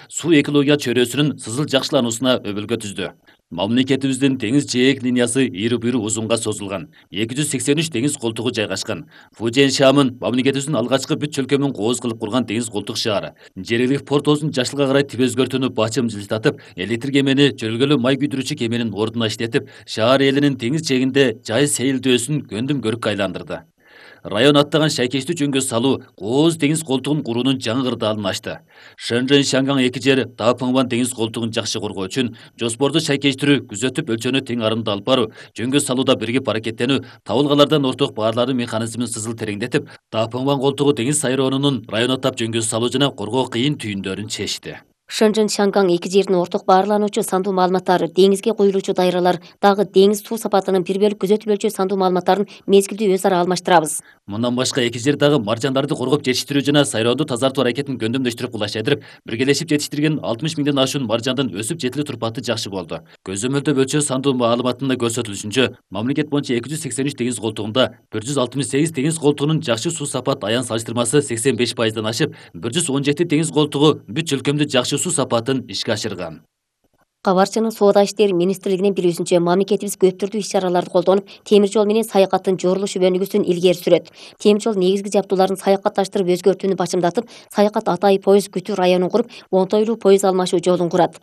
суу экология чөйрөсүнүн сызыл жакшылануусуна өбөлгө түздү. Мамлекетибиздин теңиз жээк линиясы ийри буйру узунга созулган. 283 деңиз колтугу жайгашкан. Фужен Шамын мамлекетибиздин алгачкы бүт чөлкөмүн кооз кылып курган деңиз колтук шаары. Жергиликтүү портосун жашылга карай тип өзгөртүүнү бачым жылтатып, электр кемени жөргөлүү май күйдүрүүчү кеменин ордуна иштетип, шаар элинин теңиз жээгинде жай сейилдөөсүн көндүм көрүккө айландырды. Район аттаган шайкечтүү жөнгө салуу кооз деңиз колтугун куруунун жаңы кырдаалын ачты. Шэньчжэн Шанган эки жер Даапыңван деңиз колтугун жакшы коргоо үчүн жоспорду шайкечтирүү, күзөтүп өлчөнү тең арымда алып баруу, жөнгө салууда биригип аракеттенүү, табылгалардан орток баарлануу механизмин сызыл тереңдетип, Даапыңван колтугу деңиз сайроонунун район аттап жөнгө салуу жана коргоо кыйын түйүндөрүн чечти. Шэньчжэн Шанган эки жердин орток баарлануучу сандуу маалыматтар, деңизге куюлуучу дайралар, дагы деңиз суу сапатынын бир бөлүк күзөтүлүүчү сандуу маалыматтарын мезгилдүү өз ара алмаштырабыз. Мындан башка эки жер дагы маржандарды коргоп жетиштирүү жана сайроонду тазартуу аракетин көндөмдөштүрүп кулаштырып, биргелешип жетиштирген 60 миңден ашуун маржандын өсүп жетилүү турпаты жакшы болду. Көзөмөлдөө өлчөө сандуу маалыматында көрсөтүлүшүнчө, мамлекет боюнча 283 деңиз колтугунда 168 деңиз колтугунун жакшы суу сапат аян салыштырмасы 85%дан ашып, 117 деңиз колтугу бүт чөлкөмдү жакшы суу сапатын ишке ашырган. Кабарчынын Соода иштери министрлигинин билүүсүнчө, мамлекетибиз көп түрдүү иш-чараларды колдонуп, темир жол менен саякаттын жорулуш өнүгүүсүн илгери сүрөт. Темир жол негизги жабдууларын саякатташтырып өзгөртүүнү бачымдатып, саякат Атай поезд күтүү районун куруп, оңтойлуу поезд алмашуу жолун курат.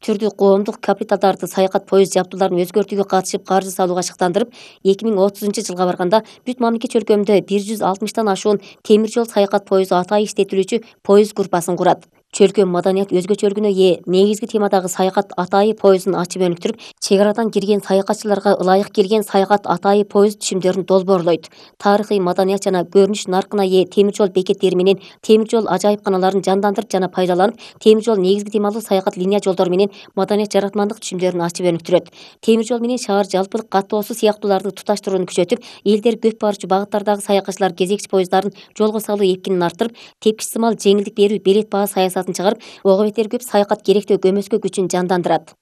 Түрдүү коомдук капиталдарды саякат поезд жабдууларын өзгөртүүгө катышып каржы салууга шыктандырып, 2030-жылга барганда бүт мамлекет чөлкөмүндө 160тан ашуун темир жол саякат поезду Атай иштетилүүчү поезд группасын курат. Чөлкөм маданият өзгөчөлүгүнө ээ негизги темадагы саякат Атайы поездун ачып өнүктүрүп, чек арадан кирген саякатчыларга ылайык келген саякат Атайы поезд түшүмдөрүн долбоорлойт. Тарыхый маданият жана көрүнүш наркына ээ темир жол бекеттери менен темир жол ажайыпканаларын жандандырып жана пайдаланып, темир жол негизги темалуу саякат линия жолдору менен маданият жаратмандык түшүмдөрүн ачып өнүктүрөт. Темир жол менен шаар жалпылык каттоосу сыяктууларды туташтырууну күчөтүп, элдер көп барчу багыттардагы саякатчылар кезекчи поезддарын жолго салуу эпкинин арттырып, тепкич сымал жеңилдик берүү билет баа саясатын чыгарып, ого бетер көп саякат керектөө көмөскө күчүн жандандырат.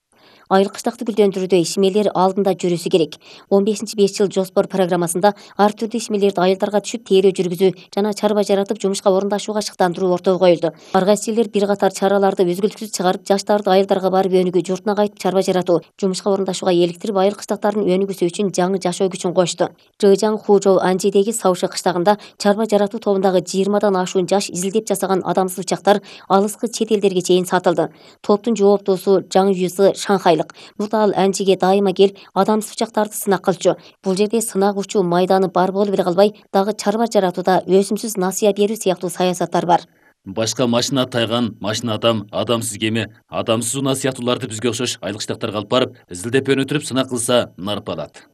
Айыл кыштакты гүлдөндүрүүдө ишмерлер алдында жүрүсү керек. 15-5 жыл жоспор программасында ар түрдүү ишмерлерди айылдарга түшүп тейлөө жүргүзүү жана чарба жаратып жумушка орундашууга шыктандыруу ортого коюлду. Ар кайсы жерлер бир катар чараларды үзгүлтүксүз чыгарып, жаштарды айылдарга барып өнүгүү, журтуна кайтып чарба жаратуу, жумушка орундашууга эликтирип, айыл кыштактардын өнүгүүсү үчүн жаңы жашоо күчүн кошту. Жыжаң Хужоу Анжидеги Сауши кыштагында чарба жаратуу тобундагы 20дан ашуун жаш изилдеп жасаган адамсыз учактар алыскы чет элдерге чейин сатылды. Топтун жооптоосу Жаң Юсы Шанхайлык. Мурда ал Анжиге дайыма келип, адамсыз учактарды сынак кылчу. Бул жерде сынак учуу майданы бар болуп эле калбай, дагы чарба жаратууда өсүмсүз насыя берүү сыяктуу саясаттар бар. Башка машина тайган, машина адам, адамсыз кеме, адамсыз унаа сыяктууларды бизге окшош айыл кыштактарга алып барып, изилдеп өнүктүрүп сынак кылса нарп алат.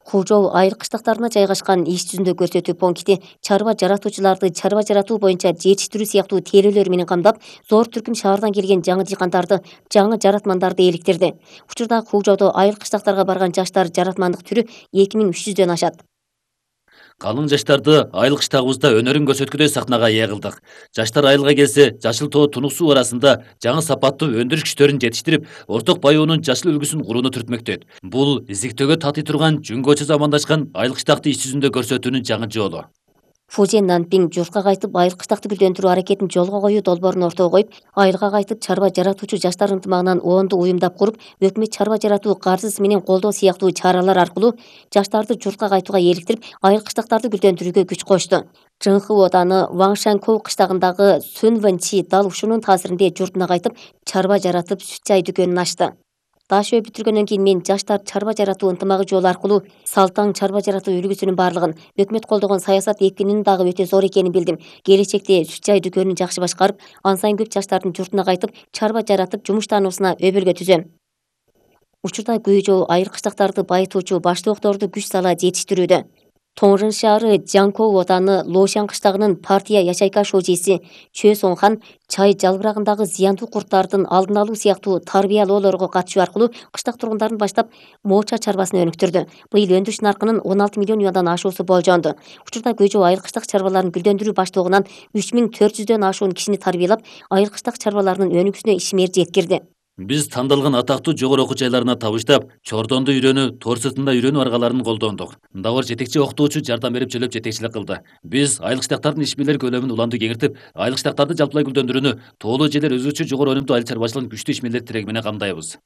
Хужоу айыл кыштактарына жайгашкан иш жүзүндө көрсөтүү пункти чарба жаратуучуларды чарба жаратуу боюнча жетиштирүү сыяктуу тейлөөлөр менен камдап, зор түркүм шаардан келген жаңы дыйкандарды, жаңы жаратмандарды эликтирди. Учурда Хужоодо айыл кыштактарга барган жаштар жаратмандык түрү 2300дөн ашат. Калың жаштарды айыл кыштагыбызда өнөрүн көрсөткүдөй сахнага ээ кылдык. Жаштар айылга келсе, жашыл тоо тунук суу арасында жаңы сапаттуу өндүрүш күчтөрүн жетиштирип, орток баюунун жашыл үлгүсүн курууну түртмөктөйт. Бул изиктөөгө татый турган жүнгөчө замандашкан айыл кыштакты иш жүзүндө көрсөтүүнүн жаңы жолу. Фужен Нанпиң журтка кайтып айыл кыштакты гүлдөндүрүү аракетин жолго коюу долбоорун ортого коюп, айылга кайтып чарба жаратуучу жаштар ынтымагынан оонду уюмдап куруп, өкмөт чарба жаратуу каржысы менен колдоо сыяктуу чаралар аркылуу жаштарды журтка кайтууга эликтирип, айыл кыштактарды гүлдөндүрүүгө күч кошту. Жыңхы ооданы Ваңшанкоу кыштагындагы Сүнвэнчи дал ушунун таасиринде журтуна кайтып, чарба жаратып, сүт чай дүкөнүн ачты. Дашөө бүтүргөндөн кийин мен жаштар чарба жаратуу ынтымагы жолу аркылуу Салтаң чарба жаратуу үлгүсүнүн баардыгын, өкмөт колдогон саясат эпкинин дагы өтө зор экенин билдим. Келечекте сүт чай дүкөнүн жакшы башкарып, ан сайын көп жаштардын журтуна кайтып, чарба жаратып, жумуш таануусуна өбөлгө түзөм. Учурда Гүйжоу айыл кыштактарды байытуучу баштоокторду күч сала жетиштирүүдө. Тоңжын шаары Жаңкоу ооданы Лошан кыштагынын партия Яшайка шожиси Чө Соңхан чай жалбырагындагы зыяндуу курттардын алдын алуу сыяктуу тарбиялоолорго катышуу аркылуу кыштак тургундарын баштап мооча чарбасын өнүктүрдү. Быйыл өндүрүш наркынын 16 миллион юандан ашуусу болжонду. Учурда Гүйжоу айыл кыштак чарбаларын гүлдөндүрүү баштоогунан 3400дөн ашуун кишини тарбиялап, айыл кыштак чарбаларынын өнүгүүсүнө ишмер жеткирди. Биз тандалган атактуу жогору окуу жайларына табыштап, Чордондо үйрөнүү, Тор сыртында үйрөнүү аргаларын колдондук. Дабыр жетекчи окутуучу жардам берип чөлөп жетекчилик кылды. Биз айлык штаттардын иш бирлери көлөмүн уланды кеңиртип, айлык штаттарды жалпылай гүлдөндүрүүнү, тоолуу жерлер өзгөчө жогору өнүмдүү айыл чарбачылыгын күчтүү иш бирлери тиреги менен камдайбыз.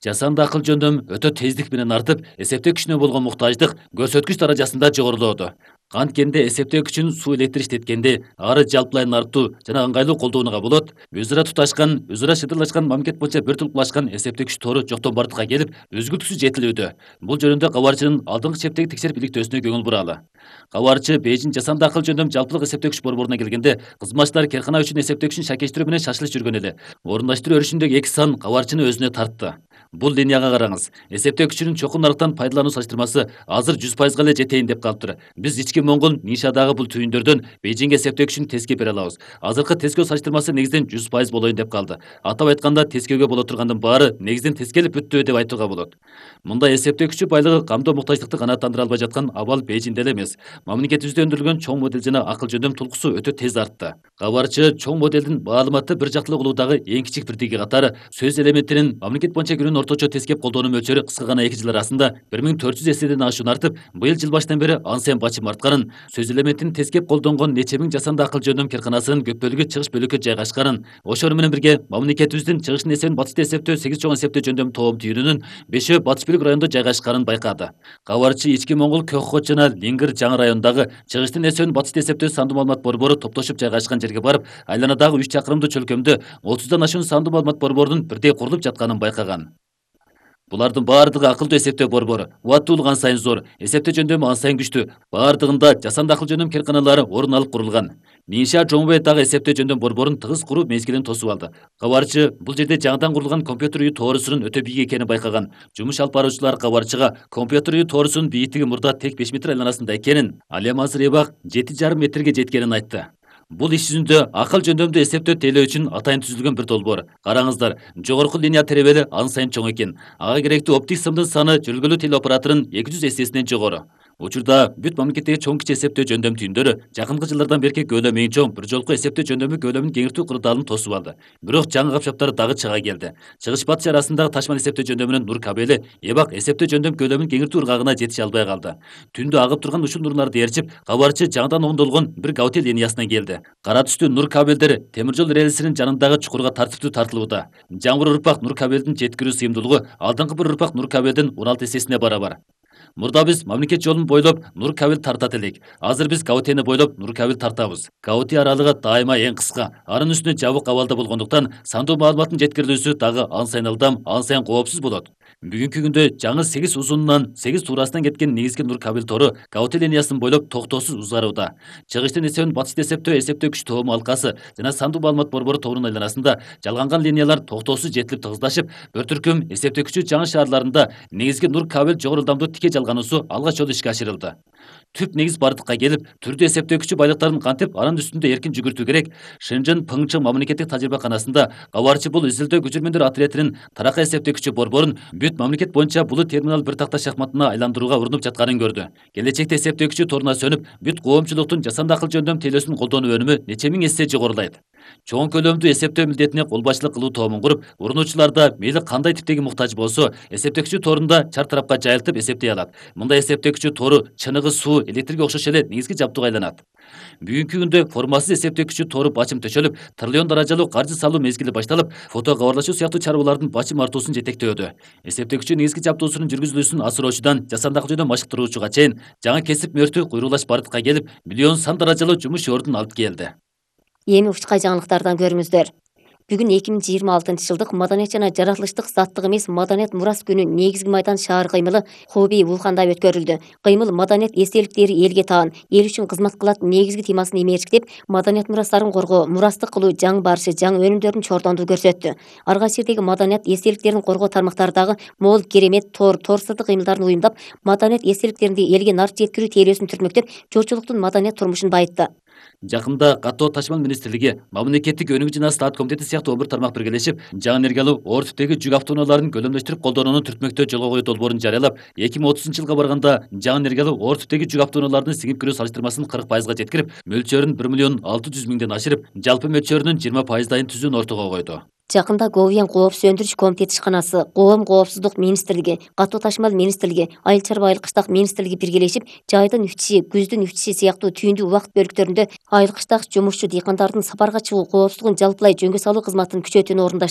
Жасанды акыл жөндөм өтө тездик менен артып, эсептөө күчүнө болгон муктаждык көрсөткүч даражасында жогорулоодо. Анткенде эсептөө күчүн суу электр иштеткенде ары жалпылай артуу жана ыңгайлуу колдонууга болот. Өз ара туташкан, өз ара шыдырлашкан мамлекет боюнча бир тулкулашкан эсептөө күч тору жоктон бардыкка келип, үзгүлтүксүз жетилүүдө. Бул жөнүндө кабарчынын алдыңкы чептеги текшерип иликтөөсүнө көңүл буралы. Кабарчы Бейжин жасанды акыл жөндөм жалпылык эсептөө күч борборуна келгенде, кызматчылар керкана үчүн эсептөө күчүн шакештирүү менен шашылыш жүргөн эле. Орундаштыруу өрүшүндөгү 2 сан кабарчыны өзүнө тартты. Бул линияга караңыз. Эсептөө күчүнүн чокун нарыктан пайдалануу салыштырмасы азыр 100% эле жетейин деп калыптыр. Биз ички Моңгол Нишадагы бул түйүндөрдөн Бейжинге эсептөө күчүн тескеп бере алабыз. Азыркы тескөө салыштырмасы негизинен 100% болоюн деп калды. Атап айтканда, тескөөгө боло тургандын баары негизинен тескелип бүттү деп айтууга болот. Мындай эсептөө күчү байлыгы камдоо муктаждыкты канааттандыра албай жаткан абал Бейжинде эле эмес. Мамлекетибизде өндүрүлгөн чоң модель жана акыл жөндөм тулкусу өтө тез артты. Кабарчы чоң модельдин маалыматты бир жактылуу кылуудагы эң кичик бирдиги катары сөз элементинин мамлекет боюнча күнүнүн орточо тескеп колдонуу мөлчөрү кыска гана 2 жыл арасында 1400 эседен ашуун артып, быйыл жыл башынан бери ан сайын бачым артканын, сөз элементин тескеп колдонгон нече миң жасанды акыл жөндөм керканасынын көп бөлүгү чыгыш бөлүккө жайгашканын, ошону менен бирге мамлекетибиздин чыгыштын эсебин батышта эсептөө 8 чоң эсептөө жөндөм тоом түйүнүнүн 5-өө батыш бөлүк райондо жайгашканын байкады. Кабарчы ички Моңгол Кёкхот жана Лингир жаңы райондагы чыгыштын эсебин батышта эсептөө сандуу маалымат борбору топтошуп жайгашкан жерге барып, айланадагы 3 чакырымдуу чөлкөмдө 30дан ашуун сандуу маалымат борборунун бирдей курулуп жатканын байкаган. Булардын баардыгы акылдуу эсептөө борбору. Убаттуулук ан сайын зор, эсептөө жөндөмү ан сайын күчтүү. Баардыгында жасанды акыл жөндөм керканалары орун алып курулган. Ниша Жомбей дагы эсептөө жөндөм борборун тыгыз куруу мезгилин тосуп алды. Кабарчы бул жерде жаңыдан курулган компьютер үйү тоорусунун өтө бийик экенин байкаган. Жумуш алып баруучулар кабарчыга компьютер үйү тоорусунун бийиктиги мурда тек 5 метр айланасында экенин, ал эми азыр эбак 7,5 метрге жеткенин айтты. Бул иш жүзүндө акыл жөндөмдүү эсептөө тейлөө үчүн атайын түзүлгөн бир долбоор. Караңыздар, жогорку линия теребели ан сайын чоң экен. Ага керектүү оптик сымдын саны жүргүлүү телеоператорунун 200 эсесинен жогору. Учурда бүт мамлекеттеги чоң кичи эсептөө жөндөм түйүндөрү жакынкы жылдардан берки көлөмү эң чоң бир жолку эсептөө жөндөмү көлөмүн кеңиртүү кырдаалын тосуп алды. Бирок жаңы капчаптар дагы чыга келди. Чыгыш батыш арасындагы ташман эсептөө жөндөмүнүн нур кабели эбак эсептөө жөндөм көлөмүн кеңиртүү ыргагына жетише албай калды. Түндө агып турган ушул нурларды ээрчип, кабарчы жаңыдан оңдолгон бир гаути линиясына келди. Кара түстүү нур кабелдер темир жол рельсинин жанындагы чукурга тартиптүү тартылууда. Жаңы бир урпак нур кабелдин жеткирүү сыйымдуулугу алдыңкы бир урпак нур кабелдин 16 эсесине барабар. Мурда биз мамлекет жолун бойлоп нур кабел тартат элек. Азыр биз Гаутени бойлоп нур кабел тартабыз. Гаути аралыгы дайыма эң кыска, анын үстүнө жабык абалда болгондуктан сандуу маалыматтын жеткирилүүсү дагы ан сайын ылдам, ан сайын коопсуз болот. Бүгүнкү күндө жаңы 8 узунунан 8 туурасынан кеткен негизги нур кабел тору Гаути линиясын бойлоп токтоосуз узарууда. Чыгыштын эсебин батышта эсептөө күч тоому алкасы жана сандуу маалымат борбору торунун айланасында жалганган линиялар токтоосуз жетилип тыгыздашып, бир түркүм эсептөө күчү жаңы шаарларында негизги нур кабел жогору ылдамдуу тике жалгануусу алгач жолу ишке ашырылды. Түп негиз бардыкка келип, түрдүү эсептөө күчү байлыктарын кантип анын үстүндө эркин жүгүртүү керек. Шэньчжэн Пыңчы мамлекеттик тажрыйбаканасында кабарчы бул изилдөө көчүрмөндөр отрядынын таракай эсептөө күчү борборун бүт мамлекет боюнча булут терминал бир такта шахматына айландырууга урунуп жатканын көрдү. Келечекте эсептөө күчү торуна сөнүп, бүт коомчулуктун жасанды акыл жөндөм тейлөөсүн колдонуу өнүмү нече миң эсе жогорулайт. Чоң көлөмдүү эсептөө милдетине кол башчылык кылуу тоомун куруп, урунуучуларда мейли кандай типтеги муктаж болсо, эсептөө күчү торунда чар тарапка жайылтып эсептей алат. Мындай эсептөө күчү тору чыныгы суу, электрге окшош эле негизги жабдууга айланат. Бүгүнкү күндө формасыз эсептөө күчү тору бачым төшөлүп, триллион даражалуу каржы салуу мезгили башталып, фото кабарлашуу сыяктуу чарбалардын бачым артуусун жетектөөдө. Эсептөө күчү негизги жабдуусунун жүргүзүлүүсүн асыроочудан жасанды акыл жөндөм машыктыруучуга чейин жаңы кесип мөртү куйрулаш бардыкка келип, миллион сан даражалуу жумуш ордун алып келди. Эми учкай жаңылыктардан көрүңүздөр. Бүгүн 2026-жылдык маданият жана жаратылыштык заттык эмес маданият мурас күнү негизги майдан шаар кыймылы Хубей Вулханда өткөрүлдү. Кыймыл маданият эстеликтери элге таан, эл үчүн кызмат кылат негизги темасын эмерчиктеп, маданият мурастарын коргоо, мурастык кылуу, жаңы барышы, жаңы өнүмдөрдүн чордондугу көрсөттү. Ар кайсы жердеги маданият эстеликтерин коргоо тармактары дагы мол керемет тор сырдык кыймылдарын уюмдап, маданият эстеликтеринди элге нарт жеткирүү тейлөөсүн түртмөктөп, журтчулуктун маданият турмушун байытты. Жакында каттоо ташмал министрлиги, мамлекеттик өнүгүү жана стат комитети сыяктуу 11 тармак биргелешип, жаңы энергиялуу оор типтеги жүк автоунааларын көлөмдөштүрүп колдонууну түртмөктөө жолго коюу долбоорун жарыялап, 2030-жылга барганда жаңы энергиялуу оор типтеги жүк автоунааларынын сиңип кирүү салыштырмасын 40%га жеткирип, мөлчөрүн 1,6 миллион ашырып, жалпы мөлчөрүнүн 20%дайын түзүүнү ортого койду. Жакында Говьян кооп сөндүрүш комитети ишканасы, Коом коопсуздук министрлиги, Катуу ташмал министрлиги, Айыл чарба айыл кыштак министрлиги биргелешип, жайдын үтүшү, күздүн үтүшү сыяктуу түйүндүү убакыт бөлүктөрүндө айыл кыштак жумушчу дыйкандардын сапарга чыгуу коопсуздугун жалпылай жөнгө салуу кызматын күчөтүүнү орундашты.